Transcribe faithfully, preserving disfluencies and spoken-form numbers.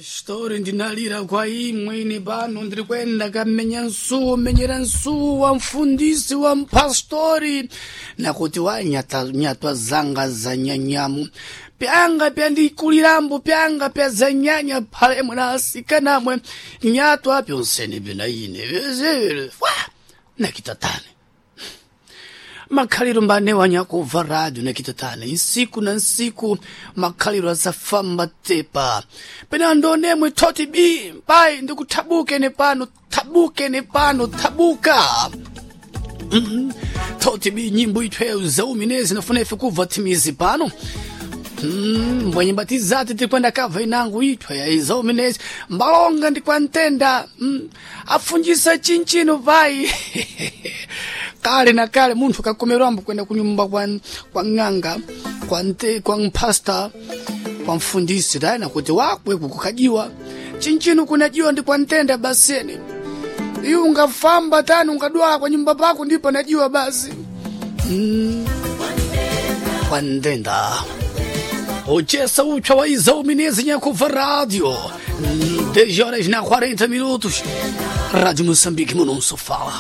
Story ndinalira kwa imwe ine pano ndiri kuenda kamenya nsuwo menyera nsuwo wa mfundisi wa mpastori nakuti wanyata nyatwa zanga za nyanyamu pyanga pyandikulirambo pyanga pya zanyanya phalemwe na asikanamwe nyatwa pyonsene pena ine vyozere wa nakitatane makhaliro mbane wanyakubva radio nakitatane nsiku na nsiku makhaliro asafamba tepa pena ndonemwe thoti bi pai ndikuthabuke ne pano thabuke ne pano thabuka mm thoti bi nyimbo ithweyo zauminezi nafuna ife kubva thimizi pano Mm, mbwenye batizati tikwenda kava inangu ithwe yaizominezi mbalonga ndikwantenda mm, afunjisa chinchino pai kale na kale munthu akakomerwambo kwenda kunyumba kwa, kwa ng'anga kwa, nte, kwa mpasta kwa mfundisi tayana kuti wakwe kukukajiwa chinchino kunajiwa ndi kwa ntenda baseni iwe ungafamba tani ungadwala kwa nyumba pako ndipo najiwa basi mm, kwa ntenda Ochessa ucha wa Isauminese Nhakuva Rádio. dez horas na quarenta minutos. Rádio Moçambique, meu não só fala.